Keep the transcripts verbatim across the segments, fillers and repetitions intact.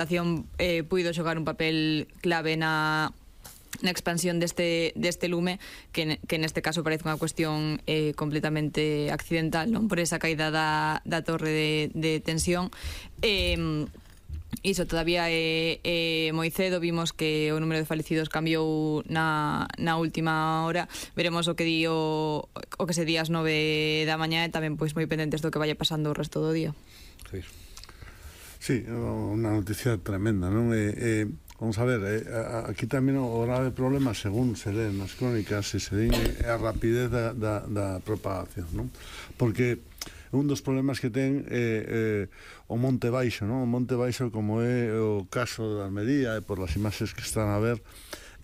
Administración eh, puido xogar un papel clave na na expansión deste, deste lume que, que neste caso parece unha cuestión eh, completamente accidental, non por esa caída da, da torre de, de tensión. eh, Iso todavía é, é moi cedo. Vimos que o número de falecidos cambiou na, na última hora. Veremos o que di o, o que se di ás nove da mañá e tamén pois moi pendentes do que vaya pasando o resto do día. Sí. Sí, unha noticia tremenda, non? Eh, eh, vamos a ver, eh, aquí tamén o grave problema, según se lee nas crónicas, se se din, é a rapidez da, da, da propagación, non? Porque un dos problemas que ten é eh, o Monte Baixo, non? O Monte Baixo, como é o caso de Almería, e por as imaxes que están a ver,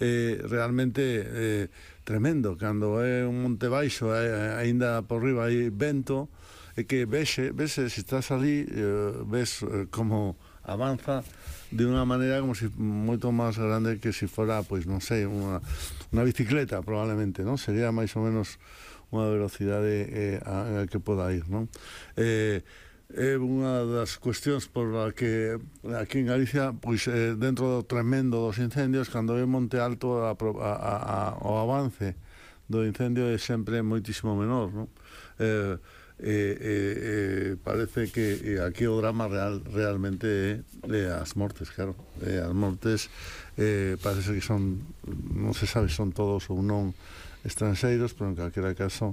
eh, realmente eh, tremendo. Cando é un Monte Baixo, eh, aínda por riba hai vento, é que vexe, vexe, se estás ali, eh, ves eh, como avanza de unha maneira como si moito máis grande que se si fora, pois non sei, unha, unha bicicleta probablemente, non? Sería máis ou menos unha velocidade eh, a, a que poda ir, non? Eh, é unha das cuestións por a que aquí en Galicia, pois eh, dentro do tremendo dos incendios, cando é Monte Alto a, a, a, o avance do incendio é sempre moitísimo menor, non? Eh, Eh, eh, eh, parece que eh, aquí o drama real realmente é eh, as mortes, claro, eh, as mortes eh, parece que son, non se sabe se son todos ou non estranxeiros, pero en calquera caso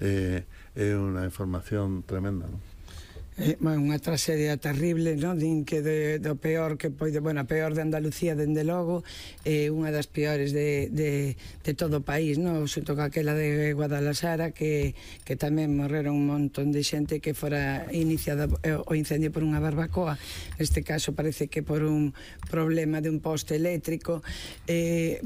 eh, é unha información tremenda, non? É unha tragedia terrible, non? Din que de, do peor que pode, bueno, a peor de Andalucía dende logo, é unha das peores de, de, de todo o país, non? Xunto con aquela de Guadalajara, que, que tamén morreron un montón de xente que fora iniciado o incendio por unha barbacoa. Neste caso parece que por un problema de un poste eléctrico. Eh,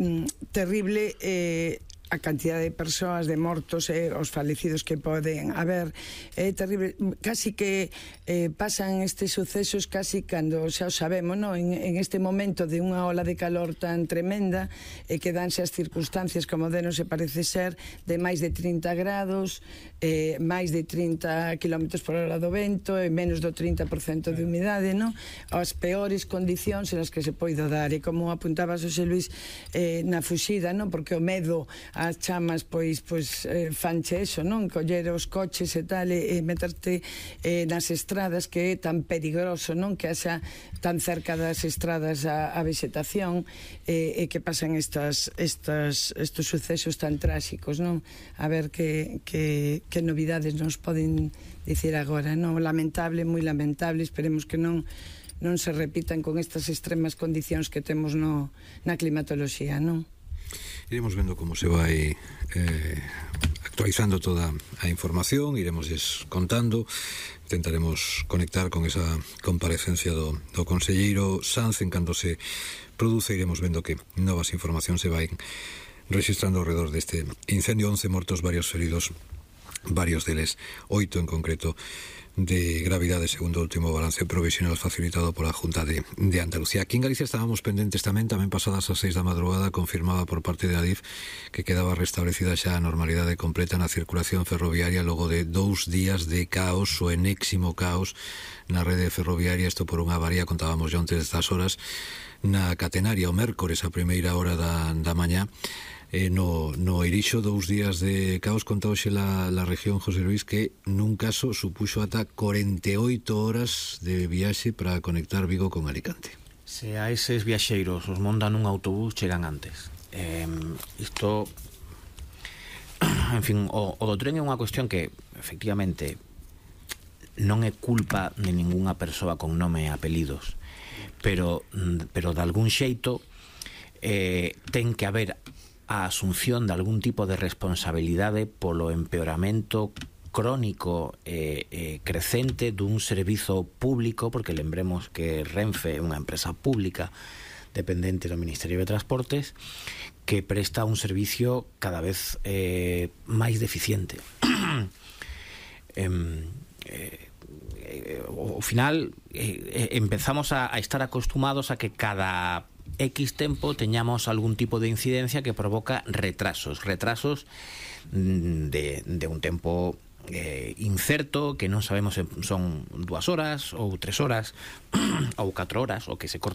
terrible eh, a cantidad de persoas, de mortos e eh, os falecidos que poden haber. É terrible, casi que eh, pasan estes sucesos casi cando xa o sabemos, no? en, en este momento de unha ola de calor tan tremenda e eh, que danse as circunstancias como de non se parece ser de máis de trinta grados, eh, máis de trinta kilómetros por hora do vento e menos do trinta por cento de humidade, no? As peores condicións en as que se poido dar, e como apuntaba Xosé Luis eh, na fuxida, no? Porque o medo as chamas pois pois eh, fanche eso, non? Coller os coches e tal e, e meterte eh, nas estradas, que é tan perigoso, non? Que haxa tan cerca das estradas a, a vegetación e, e que pasan estas, estas, estos sucesos tan tráxicos, non? A ver que, que, que novidades nos poden dicir agora, non? Lamentable, moi lamentable, esperemos que non non se repitan con estas extremas condicións que temos no, na climatoloxía, non? Iremos vendo como se vai eh, actualizando toda a información, iremos contando, intentaremos conectar con esa comparecencia do, do conselleiro Sanz en cando se produce, iremos vendo que novas informacións se vai registrando ao redor deste incendio. Once mortos, varios feridos, varios deles, oito en concreto de gravidade, segundo o último balance provisional facilitado pola Junta de, de Andalucía. Aquí en Galicia estábamos pendentes tamén, tamén pasadas as seis da madrugada, confirmaba por parte de Adif que quedaba restablecida xa a normalidade completa na circulación ferroviaria logo de dous días de caos, o enésimo caos na rede ferroviaria. Isto por unha avaría, contábamos xa antes destas horas, na catenaria o mércores a primeira hora da, da mañá. Eh, no, no Irixo, dous días de caos, conta hoxe la, la región, José Luis, que nun caso supuxo ata corenta e oito horas de viaxe para conectar Vigo con Alicante. Se a eses viaxeiros os montan nun autobús, chegan antes. Eh, isto, en fin, o, o do tren é unha cuestión que, efectivamente, non é culpa de ningunha persoa con nome e apelidos, pero, pero de algún xeito eh, ten que haber a asunción de algún tipo de responsabilidade polo empeoramento crónico e eh, eh, crecente dun servizo público, porque lembremos que Renfe é unha empresa pública dependente do Ministerio de Transportes que presta un servicio cada vez eh, máis deficiente. eh, eh, eh, ao final eh, empezamos a, a estar acostumados a que cada X tempo teñamos algún tipo de incidencia que provoca retrasos, retrasos de, de un tempo eh, incerto, que non sabemos se son dúas horas ou tres horas ou catro horas, o que se corta